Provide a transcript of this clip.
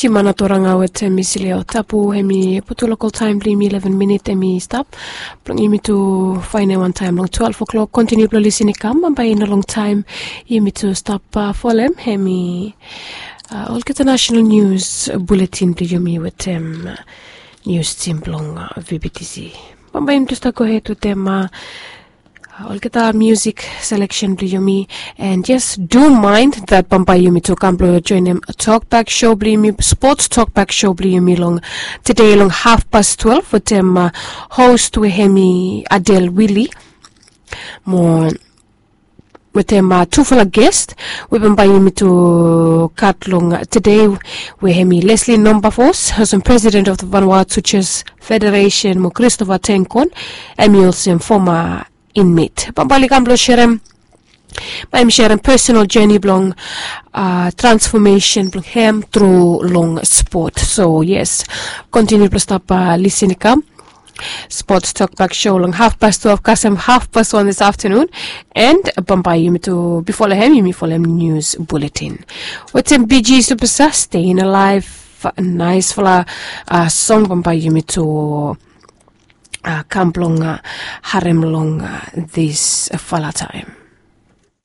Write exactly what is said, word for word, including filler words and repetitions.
Timana toranga wetem misileo tapu, hemi putu lokol taem blong yumi ileven minit hemi stap blong yumi tu faenem wantaem long twelve o'clock. Kontiniu blong lisin i kam bambae i no longtaem yumi tu stap folem hemi olgeta nasenal nius buletin blong yumi wetem nius tim blong vbtc. Bambae yumi tu stap gohed wetem olgeta miusik seleksen blong yumi. And yes, do mind that bambae yumi tu kam blong joenem tokbak show blong yumi, spots tokbak show blong yumi long tede long hafpas twelve wetem host we hemi Adel Willi mo wetem tufala gest we bambae yumi tu gat long tede, we hemi Leslie Nombafos, olsem president of the Vanuatu Chess Federation, mo Christopher Tenkon, hemi olsem foma inmate. Bambae oli kam blong serem, bae yumi serem personal journey blong transfomesen blong hem tru long spot. So yes, kontiniu blong stap lisin i kam. Spots tokbak show long hafpas twelve kasem hafpas wan this afternoon. And bambae yumi tu bifo long hem yumi folem nius buletin wetem Bee Gees superstar Staying Alive. Naesfala song bambae yumi tu kam blong harem long disfala taem.